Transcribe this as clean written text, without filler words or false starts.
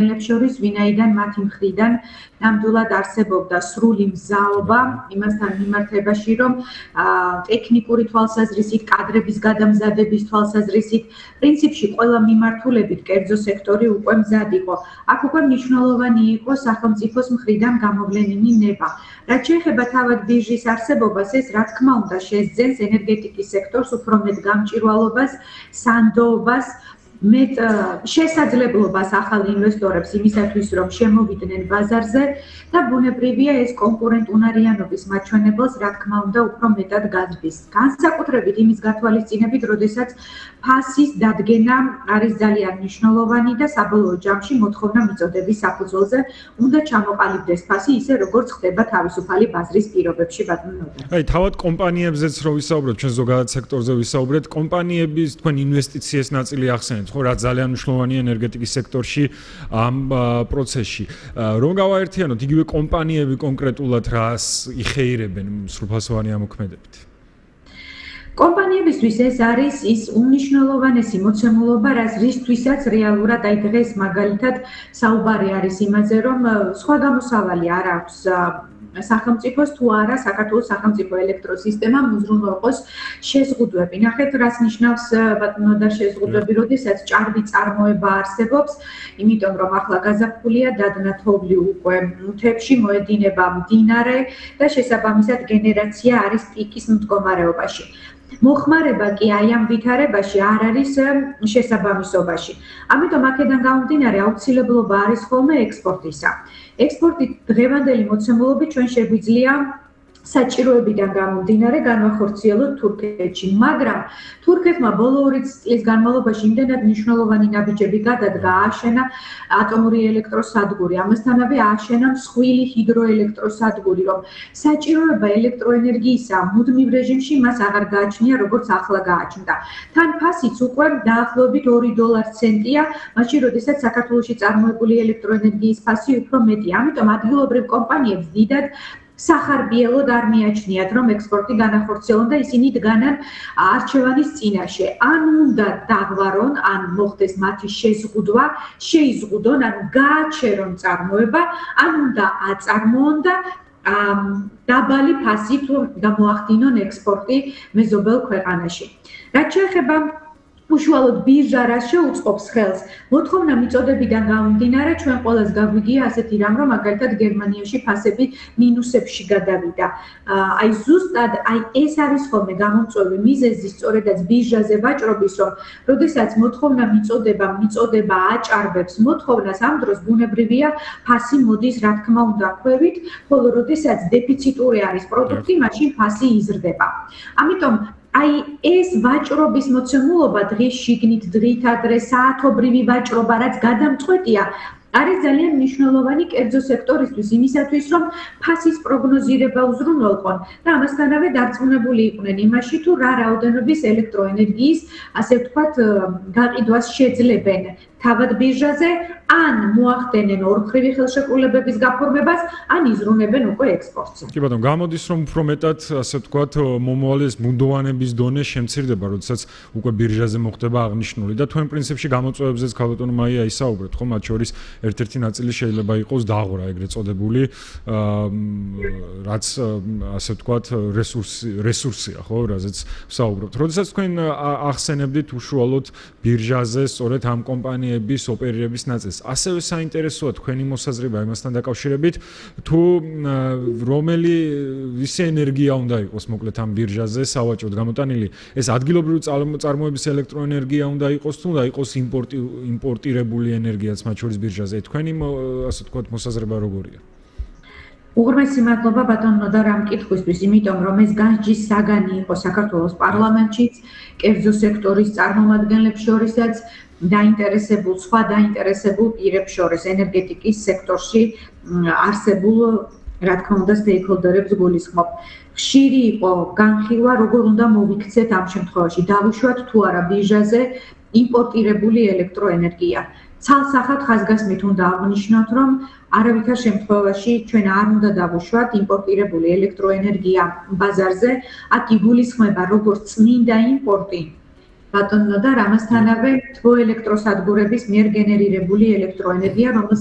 შორის, ვინაიდან მათი მხრიდან ნამდვილად არსებობდა სრული მზაობა იმასთან მიმართებაში, რომ ტექნიკური თვალსაზრისით, კადრების გადამზადების თვალსაზრისით, პრინციპში ყველა მიმართულებით კერძო სექტორი უკვე მზად იყო. აქ უკვე მნიშვნელოვანი იყო სახელმწიფოს მხრიდან გამოვლენილი ნება. რაც შეეხება თავად ბირჟის არსებობას, ეს რა თქმა უნდა შესძენს ენერგეტიკის სექტორს უფრო მეტ გამჭვირვალობას, სანდოობას, მეტ შესაძლებლობას ახალ ინვესტორებს იმისათვის, რომ შემოვიდნენ ბაზარზე და ბუნებრივია ეს კონკურენტუნარიანობის მაჩვენებელს, რა თქმა უნდა, უფრო მეტად გაძბის. განსაკუთრებით იმის გათვალისწინებით, როდესაც ფასის დადგენა არის ძალიან მნიშვნელოვანი და საბოლოო ჯამში მოთხოვნა მიწოდების საფუძველზე უნდა ჩამოყალიბდეს ფასი, ისე როგორც ხდება თავისუფალი ბაზრის პირობებში, ბატონო ნოდარ. აი, თავად კომპანიებზეც რო ვისაუბროთ, ჩვენ ზოგადად სექტორზე ვისაუბრეთ, კომპანიების თქვენ ინვესტიციის ნაწილი ახსენეთ, ხო, რა ძალიან მნიშვნელოვანია ენერგეტიკის სექტორში ამ პროცესში. რომ გავაერთიანოთ, იგივე კომპანიები კონკრეტულად რას იხეირებენ სრულფასოვანი ამოქმედებით? კომპანიებისთვის ეს არის ის უმნიშვნელოვანესი მოცემულობა, რისთვისაც რეალურად აი დღეს მაგალითად საუბარი არის იმაზე, რომ სხვა გამოსავალი არ აქვს სახელმწიფოს თუ არა საქართველოს სახელმწიფო ელექტროსისტემამ უზრუნველყოს შეზღუდვები. ნახეთ, რას ნიშნავს ბატონო და შეზღუდვები, როდესაც ჭარბი წარმოება არსებობს, იმიტომ რომ ახლა გაზაფხულია, დადნა თოვლი უკვე მთებში, მოედინება მდინარე და შესაბამისად გენერაცია არის პიკის მდგომარეობაში. მოხმარება კი აი ამ ვითარებაში არ არის შესაბამისობაში. ამიტომ აქედან გამომდინარე აუცილებლობა არის ხოლმე ექსპორტისა. ექსპორტი დღევანდელი მოცემულობით ჩვენ შეგვიძლია საჭიროებიდან გამომდინარე განვახორციელოთ თურქეთში, მაგრამ თურქეთმა ბოლო 2 წლის განმავლობაში იმდენად მნიშვნელოვანი ნაბიჯები გადადგა, ააშენა ატომური ელექტროსადგური, ამასთანავე ააშენა მსხვილი ჰიდროელექტროსადგური, რომ საჭიროება ელექტროენერგიისა მუდმივ რეჟიმში მას აღარ გააჩნია, როგორც ახლა გააჩნდა. თან ფასიც უკვე დაახლოებით $2 მაშინ, როდესაც საქართველოში წარმოებული ელექტროენერგიის ფასი უფრო მეტია. ამიტომ ადგილობრივ კომპანიებს დიდად სახარბიელოდ არ მიაჩნიათ, რომ ექსპორტი განახორციელონ და ისინი დგანან არჩევანის წინაშე. ან უნდა დაღვარონ, ან მოხდეს მათი შეზღუდვა, შეიზღუდონ, ან გააჩერონ წარმოება, ან უნდა აწარმოონ და დაბალი ფასით გამოახდინონ ექსპორტი მეზობელ ქვეყანაში. რაც შეეხება უშუალოდ ბირჟა რას შეუწყობს ხელს, მოთხოვნა მიწოდებიდან გამომდინარე, ჩვენ ყველას გაგვიგია ასეთი რამ, რომ მაგალითად გერმანიაში ფასები მინუსებში გადავიდა. აი ზუსტად ეს არის ხოლმე გამომწვევი მიზეზი სწორედაც ბირჟაზე ვაჭრობის, რომ როდესაც მოთხოვნა მიწოდება აჭარბებს მოთხოვნას, ამ დროს ბუნებრივია ფასი მოდის, რა თქმა უნდა, ქვევით, ხოლო როდესაც დეფიციტური არის პროდუქტი, მაშინ ფასი იზრდება. ამიტომ აი ეს ვაჭრობის მოცემულობა დღის შიგნით, დღით ადრე საათობრივი ვაჭრობა, რაც გადამწყვეტია, არის ძალიან მნიშვნელოვანი კერძო სექტორისთვის იმისათვის, რომ ფასის პროგნოზირება უზრუნველყონ და ამასთანავე დარწმუნებული იყვნენ იმაში, თუ რა რაოდენობის ელექტროენერგიის, ასე ვთქვათ, გაყიდვას შეძლებენ თავად ბირჟაზე, ან მოახდენენ ორმხრივი ხელშეკრულებების გაფორმებას, ან იზრუნებენ უკვე ექსპორტზე. კი ბატონო, გამოდის რომ უფრო მეტად, ასე ვთქვათ, მომავალის მუდმივობის დონე შემცირდება, როდესაც უკვე ბირჟაზე მოხდება აღნიშნული და თქვენ პრინციპში გამოწვევებზეც ქალბატონო მაია ისაუბრეთ, ხო, მათ შორის ერთ-ერთი ნაწილი შეიძლება იყოს დაღვრა, ეგრეთ წოდებული, რაც ასე ვთქვათ, რესურსია, ხო, რაზეც ვსაუბრობთ. როდესაც თქვენ ახსენებდით უშუალოდ ბირჟაზე, სწორედ ამ კომპანიების ოპერირების ნაწილს, ასევე საინტერესოა თქვენი მოსაზრება იმასთან დაკავშირებით, თუ რომელი ვისი ენერგია უნდა იყოს მოკლედ ამ ბირჟაზე სავაჭროდ გამოტანილი, ეს ადგილობრივი წარმოების ელექტროენერგია უნდა იყოს თუ უნდა იყოს იმპორტირებული ენერგიაც მათ შორის ბირჟაზე. თქვენი ასე ვთქვათ მოსაზრება როგორია? უღრმესი მადლობა ბატონო ნოდარ ამ კითხვისთვის, იმიტომ რომ ეს განსჯის საგანი იყო საქართველოს პარლამენტშიც, კერძო სექტორის წარმომადგენლებს შორისაც, სხვა დაინტერესებულ პირებს შორის ენერგეტიკის სექტორში არსებულ, რა თქმა უნდა, სტეიქჰოლდერებს გულისხმობ. ხშირი იყო განხილვა, როგორ უნდა მოვიქცეთ ამ შემთხვევაში, დავუშვათ თუ არა ბირჟაზე იმპორტირებული ელექტროენერგია. ცალსახად ხაზგასმით უნდა აღნიშნოთ, რომ არავითარ შემთხვევაში ჩვენ არ უნდა დავუშვათ იმპორტირებული ელექტროენერგია ბაზარზე, აქ იგულისხმება როგორც წმინდა იმპორტი, ბატონო და ამასთანავე თბოელექტროსადგურების მიერ გენერირებული ელექტროენერგია,